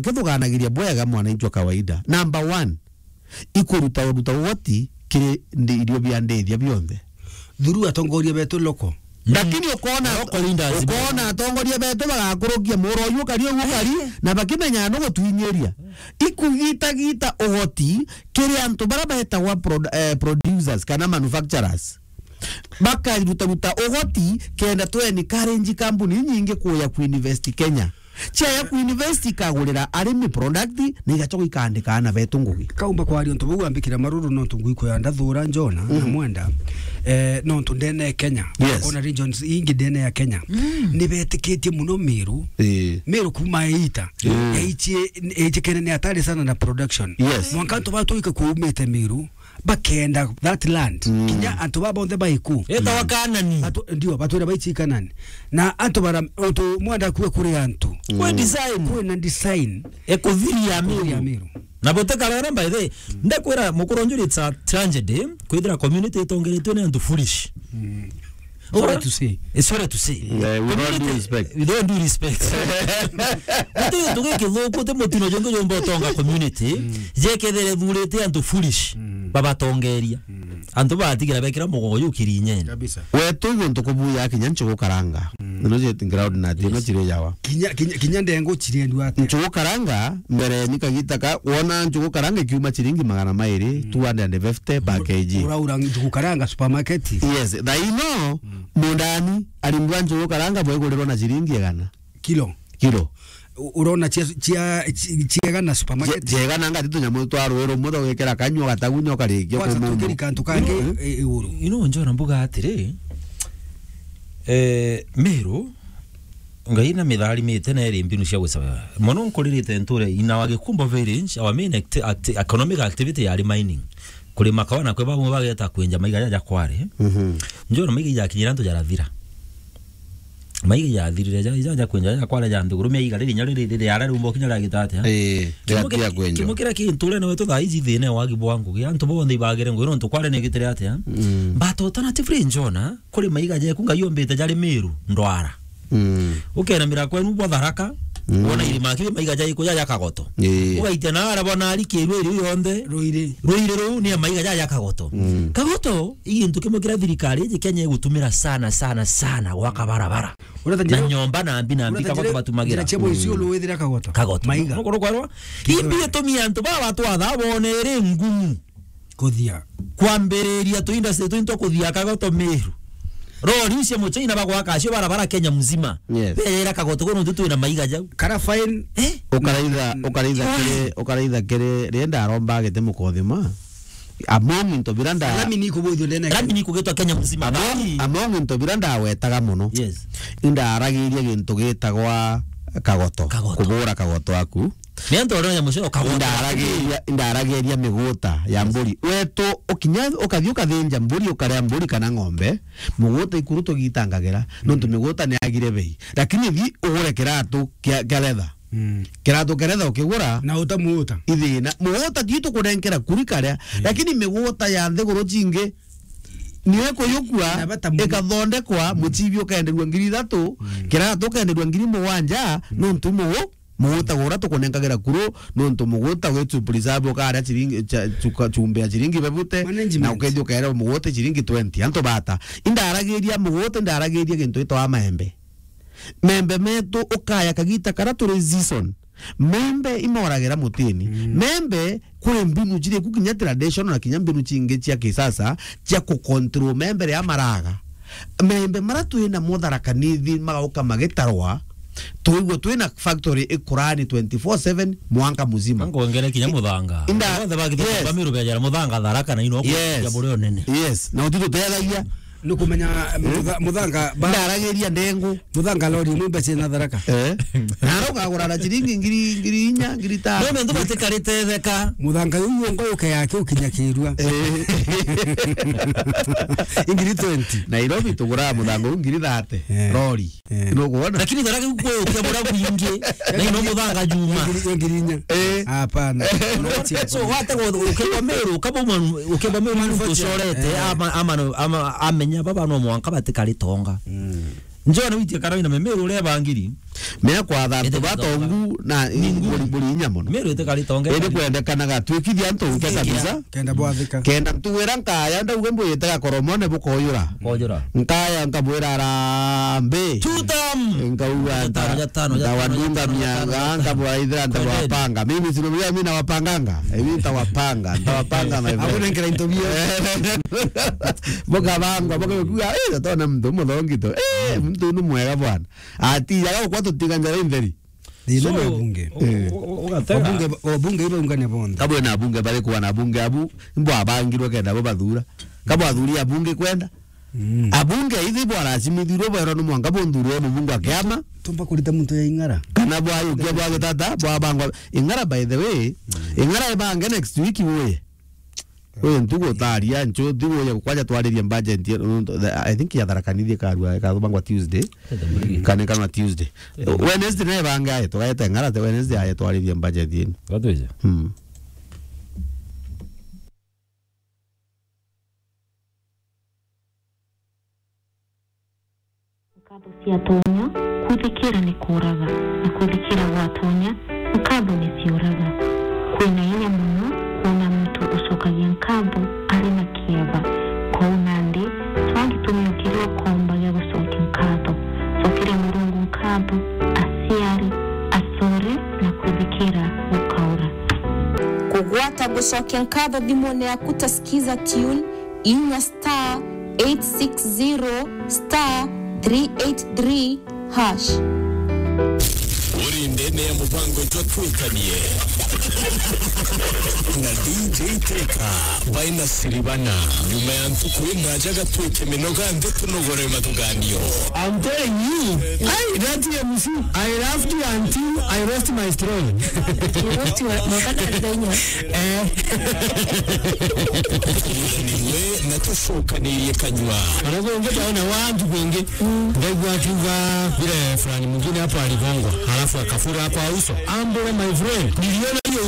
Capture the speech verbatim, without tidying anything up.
kithugaanagiria bwega mwananchi wa kawaida. Number one, ikuruta uruta ugoti kiri ndi-, irio bia ndithia bionthe. Through atongoria betu loko. Lakini ukona, ukona atongoria betu bagakurukia muro uyu ukari uyu ukari, na bakimenya no gutwinyiria. Ikugitagita ugoti kiri antu bara betagwa prod-, eh, producers kana manufacturers. Bakarutaruta ugoti kenda tu encourage kambuni nyingi kuya kuinvest Kenya. Ciaya kuinvest ikagurira arimi product na igacoka ikandika ana betu ngugi. Kaumba kwaria untu bau ambikira maruru nontu ngui kwenda thura Jona na Mwenda. Eh, nontu ndene Kenya. Yes. Ona regions ingi ndene ya Kenya. Ni betikitie muno Miru. Eh. Miru kuma ita. Yaichie, yaichikene ni atari sana na production. Yes. Mwanka antu batuika kuumite Miru. Bakenda that land. Kinya antu baba bonthe baiku. Etawa Kanani. Batu-, ndio, batwira baichi Kanani. Na antu bara, untu Mwenda kuwe kuri antu. Kwe design. Kwe na design. Ekuthiria Miru. Ekuthiria Miru. Na bote karara, by the way, ndekwira mukuru njuri, it's a tragedy, kwithira community itongeretwe ni antu foolish. Sorry to say. Eh, sorry to say. Eh, with all due respect. With all due respect. Guti gintu gikithuku, ti mutino jungi jumba utonga community, jekethire thurite antu foolish, babatongeria. Antu batigira bekira mugongo ju kirinyeni. Kabisa. Wetu guntu kubuya kinya nchugu karanga. Nino je ground na tino chiri jawa. Kinya, kinya, kinya ndengu chiriendwa atia? Nchugu karanga, mbere ni kagita ka, wona nchugu karanga ikiuma chiringi magana mairi, two hundred and fifty per K G. Uraura nchugu karanga supermarket? Yes, thaino, mundani, arimbwa nchugu karanga bwigurirwa na chiringi igana. Kilo? Kilo. U-, urona chia, chia, chi-, chiega na supermarket? Chia, chiega na ngati tunyamu twa rui rumwe tugikira kanyua gatagunya ukarikia. Kwanza kumuma. Tukiri kantu kangi i-, iguru. Ino njona mbuga atiri, eh, Miru, Ngai na mitharimite na iri mbinu cia gucaba. Mono nkuririte nture ina wa Gikumbo village, our main acti-, acti-, economic activity yari mining. Kurima kawa na kwe bamwe bageta kwenja maiga jaja kware. Njona maiga ijakinyira antu jarathira. Maiga ijathirire ja, ja, ja kwenja ja kware ja nthiguru, mia iga riri nya riri, riri ara rumbo kinya ragita atia? Eh, kimo kira, kwenja. Kimo kira kintu rene wetu thaa ici thina wagi bwa ngugi. Antu bonthe ibagire ngugi nontu kware ni gitire atia? But alternatively njona, kuri maiga jeku Ngai ombite jari Miru, ndwara. Ukenamira kwenu bwa Tharaka, wona irima kiri maiga jaiku ja, ja Kagoto. Ugaitia na ara bona ari kiru iri yonthe. Ruiri. Ruiri ruu ni maiga ja, ja Kagoto. Kagoto, i gintu kimwe kira thirikari iji Kenya igutumira sana, sana, sana gwaka barabara. Na nyomba na mbi na mbi Kagoto batumagira. Njira cia Isiolo withira Kagoto. Kagoto. Maiga. Nukuru kwerwa? Imbi itumi antu baba twatha bone iri ngumu. Kuthia. Kwambiriria tu industry tu into kuthia Kagoto Miru. Rori cia Muchina bagwaka acio barabara Kenya mzima. Yes. Beyera Kagoto kono tu twina maiga jau. Kara fine. Eh? Ukaraitha, ukaraitha kiri, ukaraitha kiri, rienda aromba agite mukothima. Among into bira nda- Rami ni kubuthio ndene. Rami ni kugitwa Kenya mzima. Among, among into bira ndawetaga muno. Yes. Indaragiria gintu gitagwa Kagoto. Kagoto. Kubura Kagoto aku. Ni antu aria ya mucoro kagwata. Indaragiria, indaragiria miguta ya mburi. Wetu ukinya, ukathi ukathinja mburi, ukaria mburi kana ng'ombe, muguta ikuru tugitangagira, nontu miguta ni agire bei. Lakini thi ugure kiratu kia, kia leather. Kiratu kia leather ukigura, na uta muguta. Ithina. Muguta ti tukunenkera kuri karia, lakini miguta ya nthiguru cingi, niyo ikuyukua, ikathondekwa, mucibi ukenderua ngiri ithatu, kiratu ukenderua ngiri mugwanja, nontu mugu-, muguta gura tukunenkagira kuru, nontu muguta witu preserve ukaria chiringi, cha-, chuka-, chumbe ya chiringi bebute, na ukethi ukaerewa muguta chiringi twenty. Antu bata. Indaragiria muguta, indaragiria gintu gitwa maembe. Membe metu ukaya kagita kara turi season. Membe imoragira mutini. Membe kuri mbinu chiri ku kinya traditional na kinya mbinu chingi cia kisasa cia ku control membe ria maraga. Membe mara twina mutharaka nithi magauka magitarwa. Twigua twina factory ikurani twenty-four seven mwanka muzima. Ngongere kinya muthanga. Inda- Bonthe bagite yes. Bamiru bejera muthanga Tharaka na ino yes. Bure onene. Yes. Na utitutethagia. Nukumenya mutha-, muthanga ba- ndaragiria ndengu. Muthanga lori imwe mbeca na Tharaka. Eh. Na ukagura na chiringi ngiri, ngiri inya, ngiri tano. No, ndo batikarite theka. Muthanga uyu ngo uke yake ukinya kirua. Eh. Ngiri twenty. Nairobi tugura muthanga u ngiri thirty. Eh. Lori. Eh. Nukuona? Lakini Tharaka ukwukia bura bwingi. Na ino muthanga juma. Ngiri, ngiri inya. Eh. Hapana. So, wate go-, ukeba Meru, ukeba manu-, ukeba Meru manufacture. Tucorete, eh. Ama, ama, ama, amenya baba no mwanka batikari tonga. Mm. Njona witie karaina me Meru uria bangiri. Mea kwatha antu batongu na buri, buri inya mono. Meru itikari tonge. Indi kwendekanaga twikithia antu uke kabisa. Kenda bwathika. Kenda ntuwira nkaya ndauga mbuyite gakoromone bukoyura. Koyura. Nkaya nkabwira arambi. Tutam. Nkauga nta-, ntawandunga mianga, nkabwira ithira ntawapanga. Mimi sino mimi nawapanganga. Ebi ntawapanga, ntawapanga my friend. Abu nengera into bio. Bukabangwa, bukakuga, eh, tona muntu muthongi tu. Eh, muntu ni mwega bwana. Ati, yaga gukwa tutiga njara intheri. Thina ni abunge. Eh. Wabunge, wabunge ibaungane bonthe. Kabwe na abunge bari kuwa na abunge abu, mbo abangirwe kenda bo bathura. Kabwe athuri abunge kwenda. Mm. Abunge ithi bwaracimithirwe bwerwa ni mwanka bunthurwe mubunge wa kiama. Tumba kurita muntu ya Ing'ara. Kana bwayukia bwa gitata, bwabangwa. Ing'ara, by the way, Ing'ara ibange next week uye. Uyu ntugu utaria nchu, ntugu ya kwaja twaririe budget ya, I think ya Tharaka Nithi ikarua, ikathubangwa Tuesday. Kana, kana Tuesday. Wednesday naye bange aye, tugaeta Ing'ara, te Wednesday aye twaririe budget yenu. Gatwije. Hmm. Nkatho ciatonya, kwithikira ni kuuraga, na kwithikira gwatonya, nkatho ni ciuraga. Kwina inya mono kwona muntu ucokagia nkatho ari na kieba. Kwou nandi, twagi tumiokiria ukomba gia gucokia nkatho. Cokeria Murungu nkatho, aciari, acore, na kwithikira gukaura. Kugwata gucokia nkatho thimune yaku ta Skiza Tune, inya star eight six zero star three eight three hash. Uri ndene ya mubango jwa Twikanie na D J Teka by Nasiribana. Nyuma ya ntuku inaja gatwike minoga nthi tunogore mathuganio. I'm telling you, hey, that M C, I laughed until I lost my throne. You lost your, mwaka na thenya. Eh. Tuthaniwe na tucokanirie kanyua. Arauga ungi taona wantu kwingi. Ndaigua akiuga vile fulani mwingine hapo aligongwa, halafu akafura kwa uso. Ambule, my friend, niliona hiyo